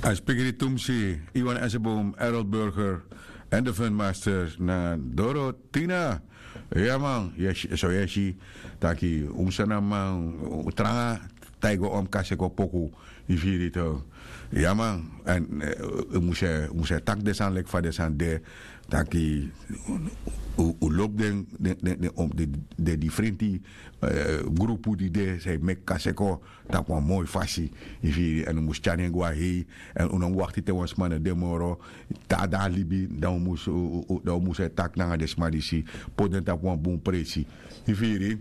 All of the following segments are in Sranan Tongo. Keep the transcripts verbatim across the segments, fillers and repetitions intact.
A spikri tumsi, Iwan Esebom, Errol Burger, en de Funmaster na Dorotina. Ya man, so yu e si taki un sani a man, un tranga, taigi un omkaseko poku, yu firi yu tok. Ya man, èn un mus e taki den sani leki fa den sani de, taki un lobi den, den difrenti grupu di de san e meki kaseko tapu wan moi fasi, yu firi, èn un mus tyari en go na hei. Èn un no mus wakti te wan sma no de moro, te a de na libi, dan un mus e taki nanga den sma disi, poti den tapu wan bun presi, yu firi.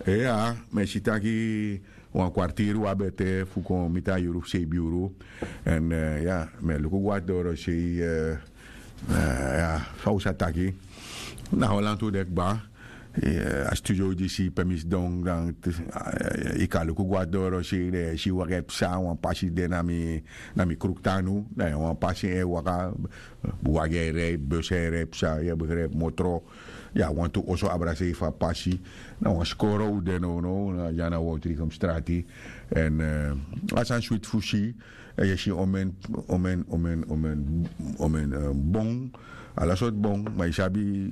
Iya, mi e si taki wan kwartiri un abi ete fu kon miti a yuru fu seibin yuru. Èn ya, mi e luku go na doro sei, fa un sa taki, na holantu de kba. A studio disi pe mi sidon, dan yu kan luku go na doro sei, dan yu e si wagi e psa, wan pasi de na mi, na mi kruktu anu, na wan pasi e waka, wagi e rei, bus e rei psa, yu e begrijp, motro. Ya, wantu oso abra sei fu a pasi. Na wan skoro un de nownow, na dya na Woutrigum strati. Èn a sani switi fu si. Yu e si omeni, omeni, omeni, omeni, omeni bon, ala sortu bon. Ma yu sabi,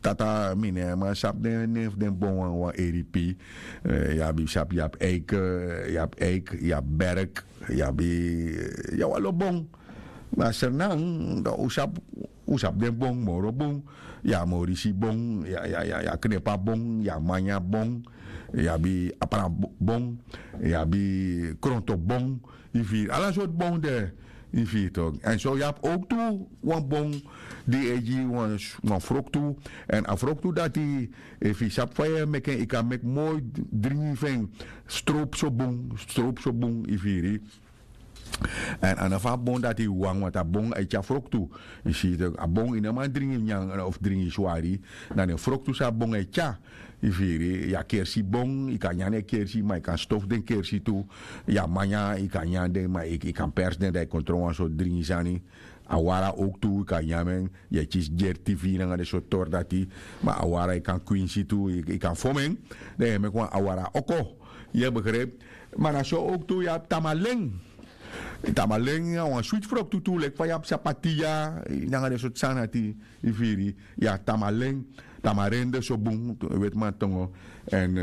tata, mi no e man sabi den nen fu den bon wan, wan eripi. Yu abi, sabi, yu abi eik, yu abi eik, yu abi berk, yu abi, yu abi ala bon. Ma sernan, dan un sabi, un sabi den bon moro bun. Yu abi morisi bon, yu abi, yu abi, yu abi knepa bon, yu abi manya bon, yu abi apran bon, yu abi kronto bon, yu firi, ala sortu bon de, yu firi tok. Èn so yu abi owktu wan bon di e gi wan, wan froktu. Èn a froktu dati, efu yu sabi fa yu e meki en, yu kan meki moi dringi fu en, stropu so bun, stropu so bun, yu firi. Èn a no fu a bon dati wawan, want a bon e tyari froktu. Yu si, a bon yu no man dringi nyanyan of dringi swari. Na den froktu san a bon e tyari. Yu firi, yu abi kersi bon, yu kan nyan den kersi, ma yu kan stofu den kersi tu. Yu abi manya, yu kan nyan den, ma yu kan persi den, dan yu kon tron wan sortu dringi sani. A wara owktu yu kan nyan en. Yu e kisi dyerti fu yu nanga den sortu tori dati. Ma a wara yu kan kwinsi tu, yu kan fon en. Dan yu e meki wan awara oko. Yu e begrijp. Ma na so owktu yu abi tamalen. Tamalen na wan switi froktu tu, leki fa yu abi sapatiya nanga den sortu sani dati, yu firi. Yu abi tamalen, tamarende so bun, wetiman tongo. Èn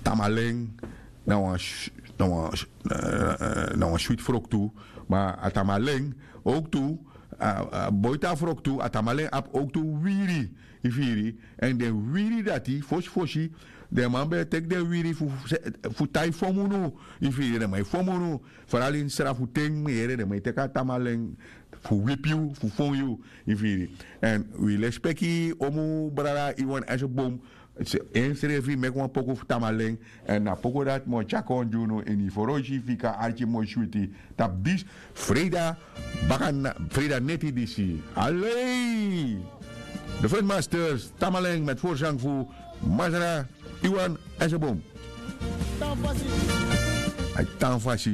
tamalen na wan, na wan switi froktu. Ma a tamalen owktu, a boiti a froktu, a tamalen abi owktu wiri, yu firi. Èn den wiri dati, fosi fosi den man ben e teki den wiri fu, fu tai fon munu, yu firi, den man e fon munu. Fara lin sra fu ten, mi yere, den man e teki a tamalen fu wipi yu, fu fon yu, yu firi. Èn wi lespeki omu brada Iwan Esebom, ensrefi meki wan poku fu tamalen. Èn na poku dati mi o tyari kon gi unu ini foroisi fika arki moi switi tapu disi freida, baka na freida neti disi. Alei! De Fun Masters, tamalen met voorzang fu masra Iwan Esebom. Tan fasi. Ai, tan fasi.